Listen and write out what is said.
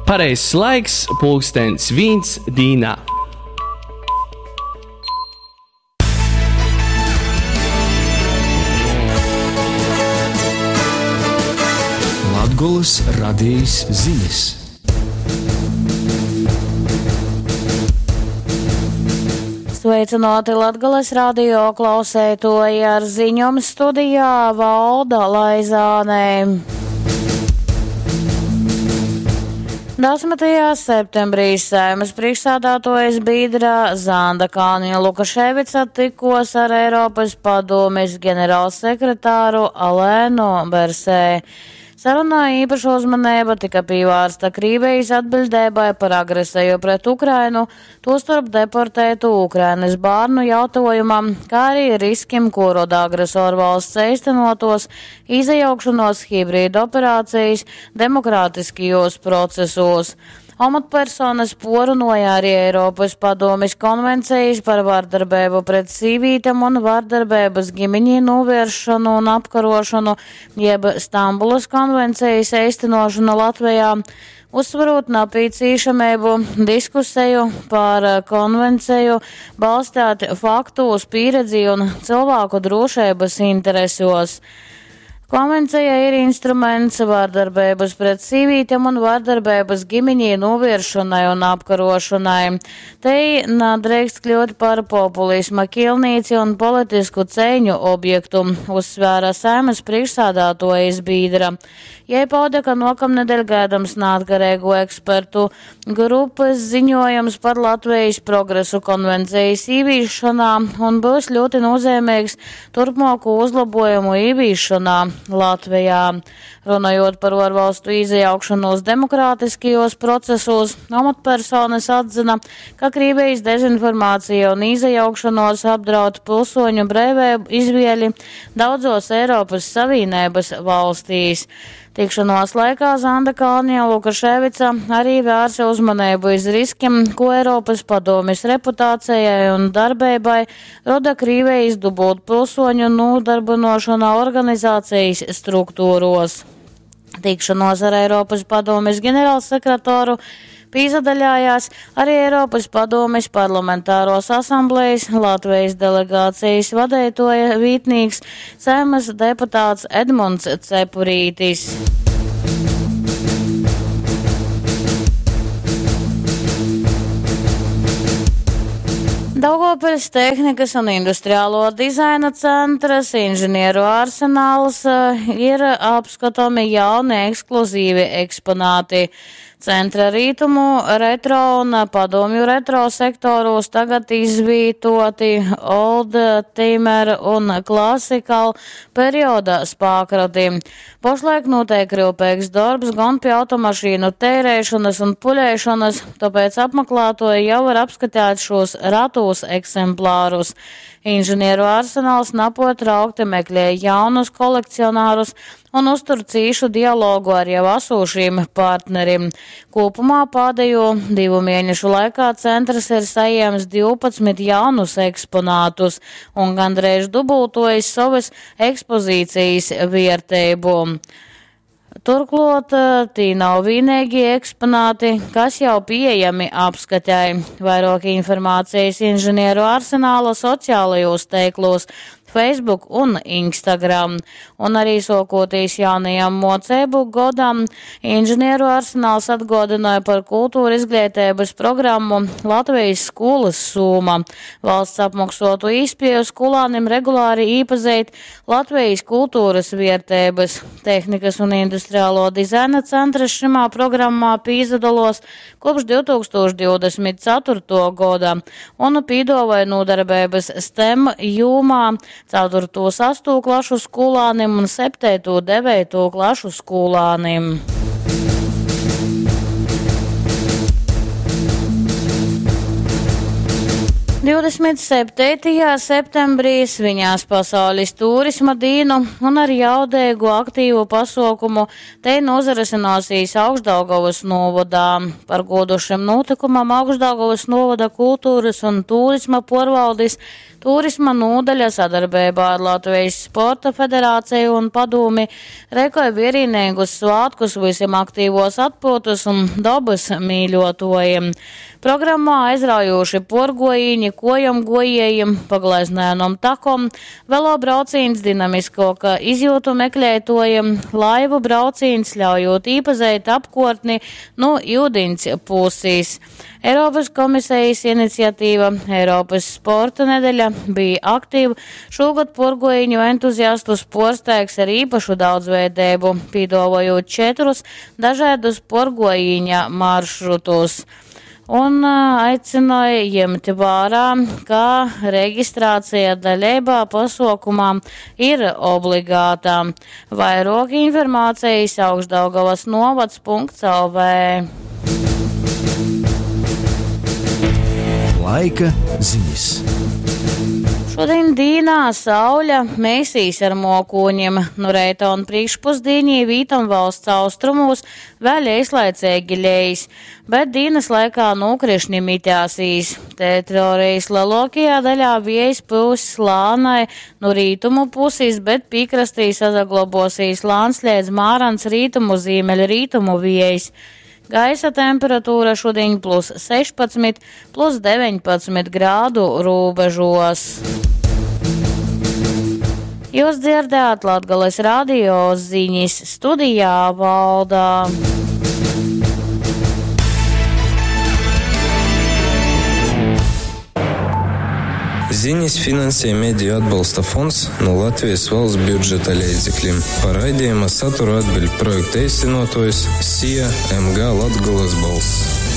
Pareizs laiks pulkstens vīns dīnā. Latgolys radejis zinis. Sveicināti Latgales radio klauseitoji ar ziņom studijā Valda Laizānē. 10. septembrī Saeimas priekšsādātuojas bīdra Zanda Kalniņa Lukaševica tykos ar Eiropas Padūmis generalsekretāru Alēnu Bersē. Sarunā īpaša uzmaneiba tika pīvārsta Krīvejis atbiļdeibai par agreseju pret Ukrainu, tūstorp deportētu Ukrainys bārnu jautuojumam, kā arī riskim, kū roda agresorvalsts eistynuotuos īsajaukšonuos hibrīdoperācejis demokrātiskajūs procesūs. Omotpersonys puorrunuoja ari Eiropys Padūmis konvencejis par vardarbeibu pret sīvītem un vardarbeibys gimiņī nūviersšonu un apkaruošonu, jeb Stambulas konvencejis eistynuošonu Latvejā, uzsverūt napīcīšameibu diskuseju par konvenceju balsteit faktūs, pīredzī un cylvāku drūšeibys interesuos. Konvenceja ir instruments vardarbeibys pret sīvītem un vardarbeibys gimiņī nūvieršonai un apkaruošonai. Tei nadreikst kļūt par populisma kielnīci un politisku ceiņu objektu, uzsvēra Saeimys prīšksādātuojis bīdra. Jei paude, ka nuokamnedeļ gaidams naatkareigu ekspertu grupys ziņuojums par Latvejis progresu konvencejis īvīsšonā un byus ļūti nūzeimeigs turpmuoku uzlobuojumu īvīsšonā Latvejā. Runojūt par uorvalstu īsajaukšonūs demokrātiskajūs procesūs, omotpersonys atzyna, ka Krīvejis dezinformācija un īsajaukšonuos apdraud pilsoņu breiveibu izvieli daudzuos Eiropys Savīneibys valstīs. Tikšonuos laikā Zanda Kalniņa Lukaševica arī vērse uzmaneibu iz riskim, kū Eiropys Padūmis reputācejai un darbeibai roda Krīvejis dubultpilsoņu nūdarbynuošona organizacejis struktūruos. Tikšonuos ar Eiropys Padūmis generalsekretoru pīsadaļājās arī Eiropys Padūmis Parlamentāruos asamblejis Latvejis delegācejis vadeituoja vītnīks, Saeimys deputāts Edmunds Cepurītis. Daugovpiļs Tehnikas un industriālo dizaina centrs, Inžinieru arsenāls ir apskotomi jauni ekskluzīvi eksponāti. Centra rītumu retro un padomju retro sektorūs tagad izvītoti Old Timer un Classical perioda spākrati. Pošlaik nūteik ryupeigs dorbs gon pie automašīnu teireišonas un puļeišonas, tōpēc apmaklātuoji jau var apskateit šūs ratūs eksemplārus. Inžinieru arsenals napuortraukti meklej jaunus kolekcionarus un uztur cīšu dialogu ar jau asūšīm partnerim. Kūpumā pādejū divu mienešu laikā centrs ir sajiems 12 jaunus eksponātus un gandreiž dubultuojis sovys ekspozīcijis vierteibu. Turkluot, tī nav vīneigī eksponāti, kas jau pīejami apskatei. Vairuok informācejis Inžinieru arsenāla sociālajūs teiklūs Facebook un Instagram. Un arī suokūtīs jaunajam muoceibu godam, Inžinieru arsenāls atguodynuoja par kulturizgleiteibys programmu Latvejis skūlys sūma, valsts apmoksuotu īspieju skūlānim regulāri īpazeit Latvejis kulturys vierteibys. Tehnikas un industriālo dizaina centrs šymā programmā pīsadoluos kopš 2024. goda un pīduovoj nūdarbeibys STEM jūmā ceturtū, sastū klašu skūlānim un septeitū, deveitū klašu skūlānim. 27. septembrī sviņās Pasaulis tūrisma dīnu un ar jaudeigu aktīvu pasuokumu tei nūzarysynuosīs Augšdaugovys nūvodā. Par gūdu šim nūtykumam Augšdaugovys nūvoda kulturys un tūrisma puorvaldis Turisma nūdaļa sadarbeibā ar Latvijas Sporta federāciju un padūmi reikoj vierīneigus svātkus vysim aktīvos atpyutys un dobys mīļuotuojim. Programmā aizraujūši puorguojīni kuojom guojiejim pa gleznainom takom, velobraucīņs dinamiskuoka izjiutu mekleituojim, laivu braucīņs, ļaujūt īpazeit apkuortni nu iudiņs pusis. Eiropys komisejis iniciativa Eiropys sporta nedeļa Be Active šūgod puorguojīņu entuziastus puorsteigs ar īpašu daudzveideibu, pīduovojūt četrus dažaidus puorguojīņa maršrutus. Un aicynoj jimt vārā, ka registrācija daleibā pasuokumā ir obligāta. Vairuok informācejis Augšdaugavas novads.lv. Laika ziņas. Šodien dīnā sauļa meisīs ar mokūņiem. Nu reita un priekšpusdīnī vītom valsts austrumūs vēļ eislaiceigi leis, bet dīnas laikā nūkrišņi mitēsīs. Teritorijas lielākajā daļā viejs pyuss lānai nu rītumu pusis, bet pīkrastī sasaglobosīs lāns līdz mārans rītumu zīmeļrītumu viejs. Gaisa temperatūra šodien plus 16, plus 19 grādu robežos. Jūs dzirdējāt Latgales radio ziņas studijā Valdā. Ziņas finansē Mediju atbalsta fonds no Latvijas valsts budžeta leidzekļiem. Par raidījuma saturu atbild projekta īstenotojs SIA MG Latgolas balss.